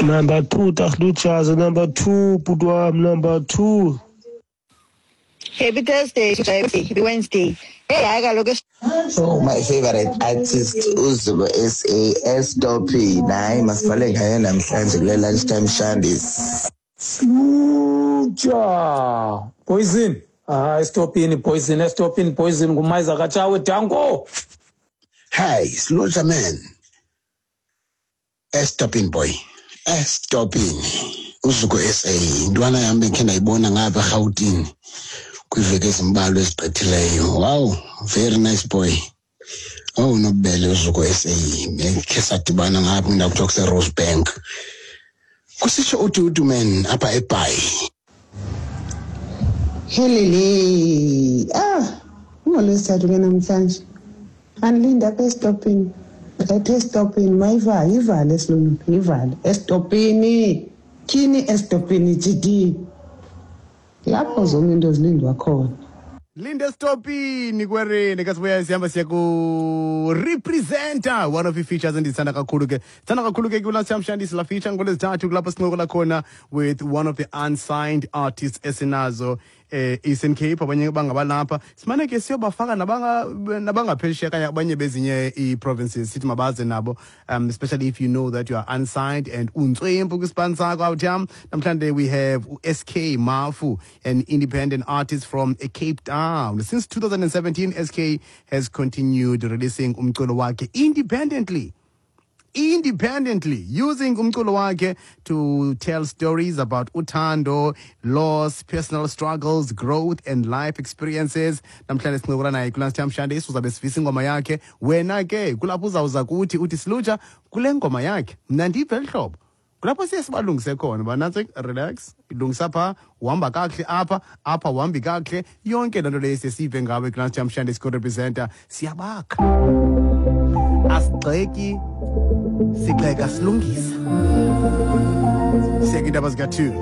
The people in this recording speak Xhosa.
Number 2 Tahluchaza, number 2 bhuti wam, number 2. Happy Thursday, happy Wednesday. Hey, hayi kaloku. Oh, my favorite artist uZuko SA Estopini. Hayi, masivale ngayo namhlanje kule lunchtime shandis. Sluja poison. Ah, estopini poison, estopini poison ngumayiza katshawe danko. Hey, Sluja man. Estopini boy. Estopini. UZuko SA intwana yam bendikhe ndayibona ngapha eRhawutini kwiiveki ezimbalwa ezigqithileyo. Wow, very nice boy. Oh, nobubele uZuko SA. Bendikhe sadibana ngapha kwindawo kuthiwa kuseRosebank. Kusitsho uDudu man apha eBhayi. Helele. Ah, ungolwesithathu ke namhlanje. Andilinda apha esitopini. Ethe esitopini mayivale, ivale esilungu, ivale. Esitopini. Tyhini esitopini GD. Lapho zonke into zilindwa khona. Linde stopini kwereni kasibuya sihamba siya ku representer one of the features endizithanda kakhulu ke thanda kakhulu ke kula siyamshandisi la feature ngolwezithathu kulapho sincokola khona with one of the unsigned artists esinazo Eastern Cape abanye bangabalapha simane ke siyobafaka nabangaphesheya kanye abanye bezinye ii-provinces sithi mabaze nabo, especially if you know that you are unsigned and untswempu kwisipani sakho out yam. Namhlanje we have u-SK Mafu, an independent artist from Cape Town. Since 2017 SK has continued releasing umculo wakhe independently using umculo wakhe to tell stories about uthando, loss, personal struggles, growth and life experiences. Namhlanje sincokola naye kulaa Sithamshande uzabe sivisa ingoma yakhe. Wena ke kulapho uzawuza kuthi uthi Silutsha kule ngoma yakhe mna ndive eli hlobo. Kulapho siye sibalungise khona uba nantsi, relax, ilungisa phaa, uhamba kakuhle apha, apha uhambi kakuhle. Yonke loo nto leyo siye siyive ngawe kulaa Sithamshande sikorepresenta. Siyabakha, asigxeki, sigxeka silungisa. Siya kwiindaba zika-2.